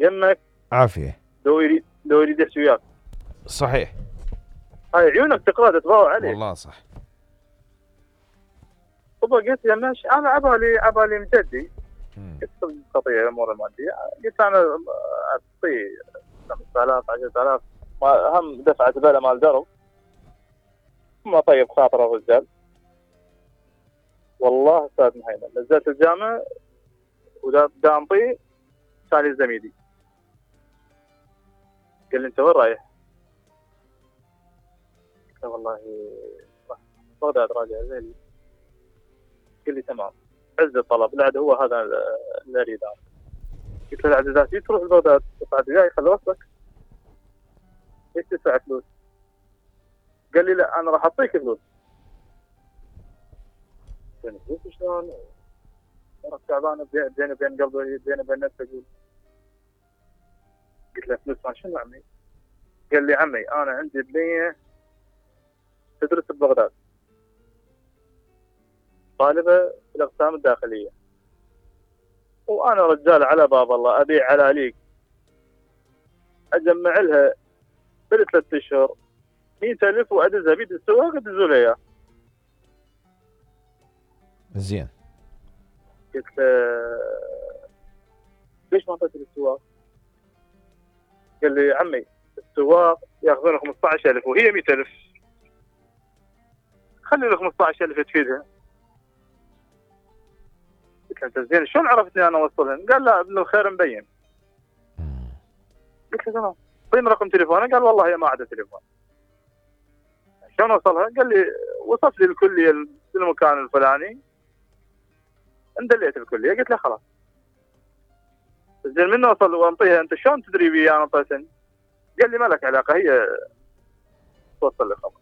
يمك عافيه. لو يريد يحكي وياك. صحيح. هاي عيونك تقرا تتضوى عليك. والله صح. قلت له ماشي، انا عبالي مجدي. قلت قضيه الامور الماديه، قلت انا اعطيه 5000 10000 هم دفعه زباله مال درب، ما طيب خاطر الرجال. والله استاذ مهيمن نزلت الجامعه ودا انطيه كان لي زميلي قال لي انت وين رايح؟ قلت له والله راح بغداد راجع زين. قال لي تمام، عز الطلب العد هو هذا اللي اريد انا. قلت له العد ذاتي تروح لبغداد بعد جاي خلي وصلك. ليش تدفع فلوس؟ قال لي لا انا راح اعطيك فلوس. قلت له فلوس شلون؟ انا تعبان بيني وبين قلبي بيني وبين نفسي اقول. قلت له فلوس ما شنو عمي؟ قال لي عمي انا عندي بنيه تدرس ببغداد طالبه في الاقسام الداخليه، وانا رجال على باب الله ابيع علاليك اجمع لها في 3 اشهر 100,000 وادزها بيد السواق ادزوا لي اياه. زين. قلت له ليش ما اعطيت السواق؟ قال لي عمي السواق ياخذون 15,000 وهي 100,000، خلي له 15,000 تفيدها. قلت له انت زين شلون عرفتني انا اوصلهن؟ قال لا ابن الخير مبين. قلت له تمام طيب رقم تليفونه؟ قال والله هي ما عندها تليفون. شلون وصلها؟ قال لي وصف لي الكليه في المكان الفلاني اندليت الكليه. قلت له خلاص زين من وصل وانطيها انت شلون تدري بي انا انطيتن؟ قال لي ما لك علاقه هي توصل لي خبر.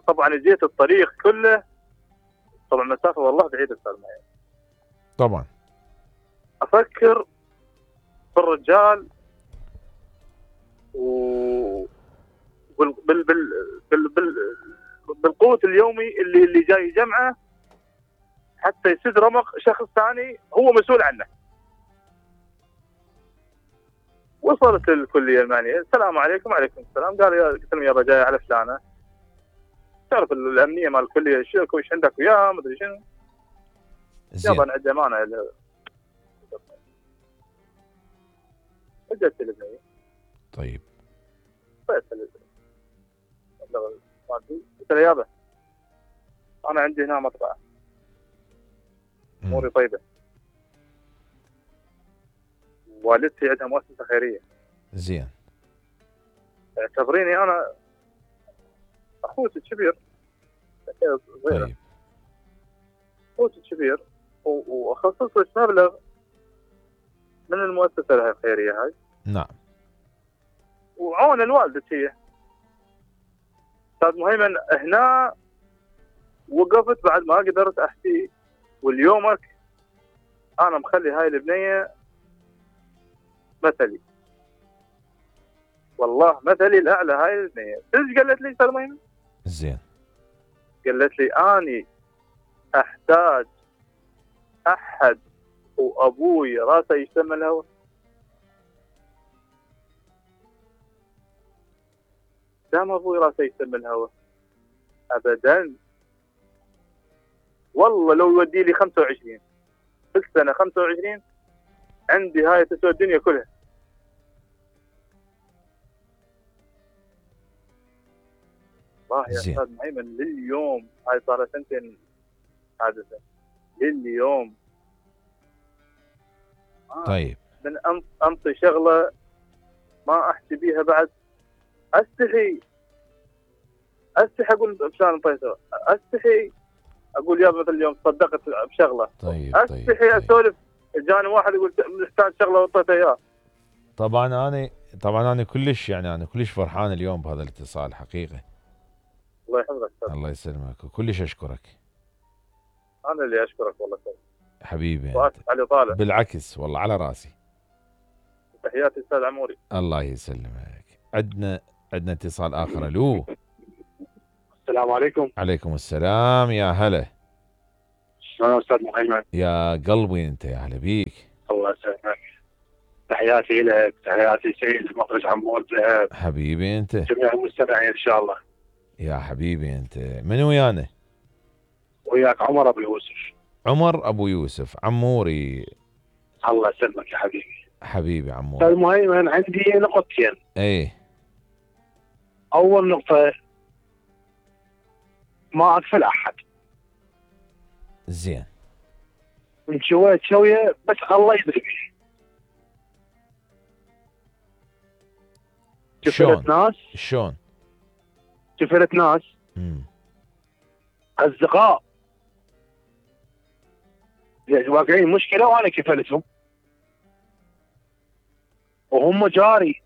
طبعا جيت الطريق كله طبعا مسافه والله بعيده استاذ مهيمن. طبعا افكر في الرجال و بالقوت اليومي اللي جاي جمعه حتى يسد رمق شخص ثاني هو مسؤول عنه. وصلت الكليه المعنيه السلام عليكم. وعليكم السلام. قلت لهم يابا جاي على فلانه، تعرف الامنيه مال الكليه ايش عندك وياه ما ادري شنو. يابا انا عندي امانه اجت البنيه. طيب قلت له يابا انا عندي هنا مطبعه اموري طيبه، والدتي عندها مؤسسه خيريه. زين. اعتبريني انا اخوتي الكبير. طيب اخوتي الكبير واخصص لك مبلغ من المؤسسه الخيريه هاي. نعم. وعون الوالدة هي. استاذ مهيمن هنا وقفت بعد ما قدرت احكي. واليومك انا مخلي هاي البنيه مثلي، والله مثلي الاعلى. هاي البنيه ايش قالت لي استاذ مهيمن؟ زين. قالت لي اني احتاج احد وابوي راسه يشتم الهوى. دام ابوي راسه يشتم الهوى ابدا. والله لو يودي لي 25 في السنه 25 عندي هاي تسوى الدنيا كلها. والله يا استاذ مهيمن لليوم هاي صار 2 سنين حادثه لليوم. طيب من انطي شغله ما احكي بيها بعد. استحي اقول بشان انطيته، استحي اقول يا مثل اليوم صدقت بشغله. طيب استحي اسولف جاني واحد يقول محتاج شغله وانطيته اياه. طبعا انا كلش يعني انا كلش فرحان اليوم بهذا الاتصال حقيقه. الله يحفظك. الله يسلمك وكلش اشكرك. انا اللي اشكرك والله حبيبي. واسف على طالع. بالعكس والله على راسي. تحياتي استاذ عموري. الله يسلمك. عندنا اتصال اخر. الو. السلام عليكم. عليكم السلام. يا هلا. شلون استاذ مهيمن؟ يا قلبي انت يا هلا بيك. تحياتي لك، تحياتي سيد المخرج عمود ذهب، حبيبي انت. جميع المستمعين ان شاء الله. يا حبيبي انت، من ويانا؟ وياك عمر ابو يوسف. عمر ابو يوسف، عموري. الله يسلمك يا حبيبي. حبيبي عموري. المهم عندي نقطتين. ايه. اول نقطة، ما اكفل احد. زين. من شوية شوية بس الله يدري بيه. كفلت ناس. شلون؟ كفلت ناس. اصدقاء واقعين مشكلة وانا كفلتهم وهم جاري.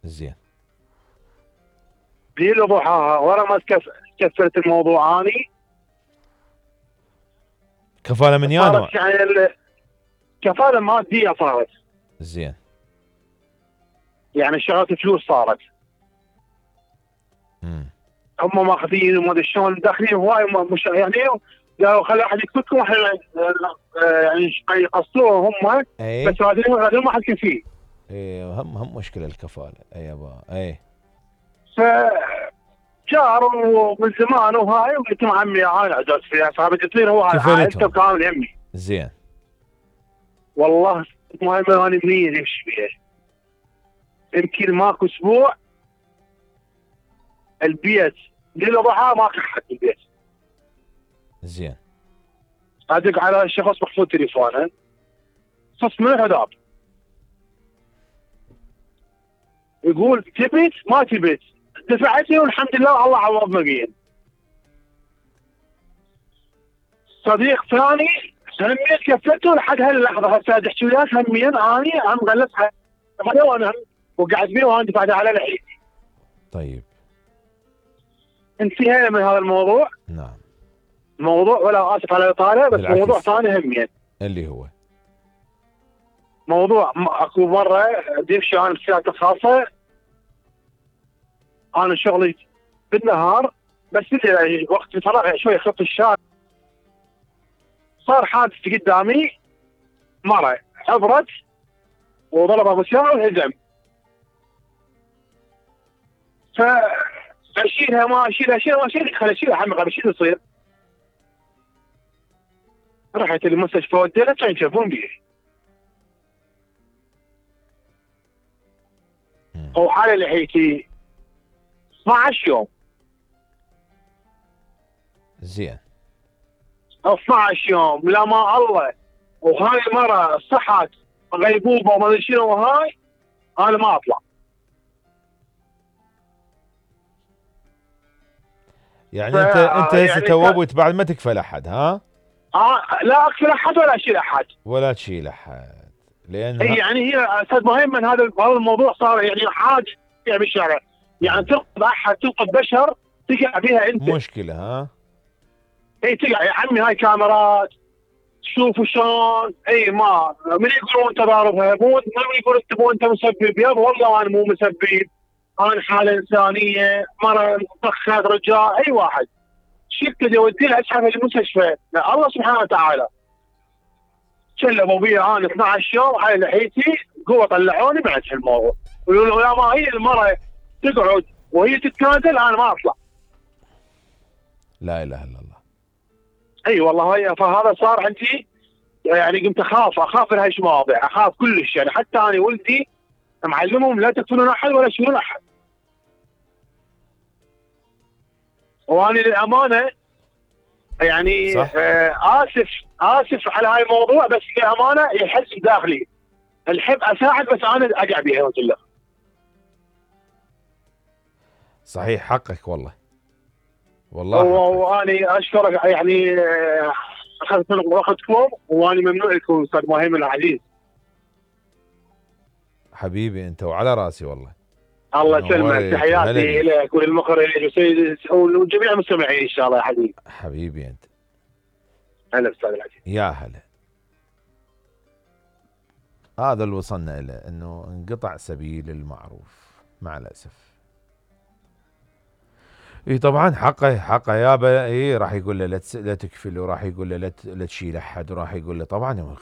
زين. ليل وضحاها ورا ما كفلت الموضوع اني. كفالة من يا نوع؟ يعني كفالة مادية صارت. زين. يعني شغلت فلوس صارت. هم ماخذين وما ادري شلون داخلين هواي مش يعني قالوا خلي احد يكفكم احنا يعني يقصروه هم. أيه؟ بس هذا ما حد فيه. ايه هم مشكلة الكفالة. اي يابا ايه. جار ومن زمان وهاي وقلت له عمي هاي عجزت فيها صاحبي تصير هو انت كامل يمي. زين. والله المهم انا منين يمشي فيها. يمكن ماكو اسبوع البيت ليل وضحى ما كان حد البيت. زين. ادق على الشخص محفوظ تليفونه صف من الهداب يقول تبيت ما تبيت دفعتني والحمد لله الله عوض مقين. صديق ثاني همين كفلته لحد هاللحظه هسه تحكي وياك همين اني عم غلسها وانا وقعد بيه وانا دفعت على لحيتي. طيب. انتهينا من هذا الموضوع. نعم. موضوع ولا اسف على الاطاله بس بالعكس. موضوع ثاني همين اللي هو موضوع اكو مره ديفشي انا بسيارتي الخاصه. انا شغلي بالنهار بس وقت الفراغ شوي خط الشارع صار حادث قدامي مره عبرت وضربها بالسياره وانهزم. فاشيلها ما اشيلها خلي اشيلها حمقه بشيل يصير. رحت المستشفى وديتها كان يشوفون بيه. وحالة لحيتي 12 يوم. زين. 12 يوم لا ما الله. وهاي المرة صحت غيبوبة وما ادري شنو وهاي انا ما اطلع. يعني انت هسه توبت بعد ما تكفل احد ها؟ لا اكفل احد ولا اشيل احد. ولا تشيل احد لان يعني هي استاذ مهم من هذا الموضوع صار يعني حاجه بالشارع. يعني تنقذ احد تنقذ بشر تقع بها انت. مشكله ها؟ اي تقع يا عمي هاي كاميرات شوفوا شلون. اي ما من يقولون انت ضاربها مو يقول انت مو انت مسبب. يابا والله انا مو مسبب. انا حاله انسانيه مره طخت رجال اي واحد شفت يوديها اسحبها للمستشفى. الله سبحانه وتعالى شلبوا بيها انا 12 يوم على لحيتي قوه طلعوني بعد الموضوع. يقولوا يا ما هي المره تقعد وهي تتنازل انا ما اطلع. لا اله الا الله. اي والله هي فهذا صار عندي يعني قمت اخاف من هاي المواضيع اخاف كلش. يعني حتى انا ولدي معلمهم لا تقتلون احد ولا تشيلون احد. وانا للامانه يعني اسف على هاي الموضوع بس للامانه يحس بداخلي الحب اساعد بس انا اقع بها وكله. صحيح حقك والله. والله وانا اشكرك يعني اخذت وقتكم وانا ممنوع لكم استاذ مهم العزيز. حبيبي انت وعلى راسي والله. الله يسلمك. تحياتي لك وللمخرج وسيد وجميع المستمعين ان شاء الله يا حبيبي. حبيبي انت. هلا استاذ العزيز. يا هلا. هذا اللي وصلنا له انه انقطع سبيل المعروف مع الاسف. اي طبعا حقه يابا. اي راح يقول له لا تكفل وراح يقول له لا تشيل احد وراح يقول له طبعا خوف.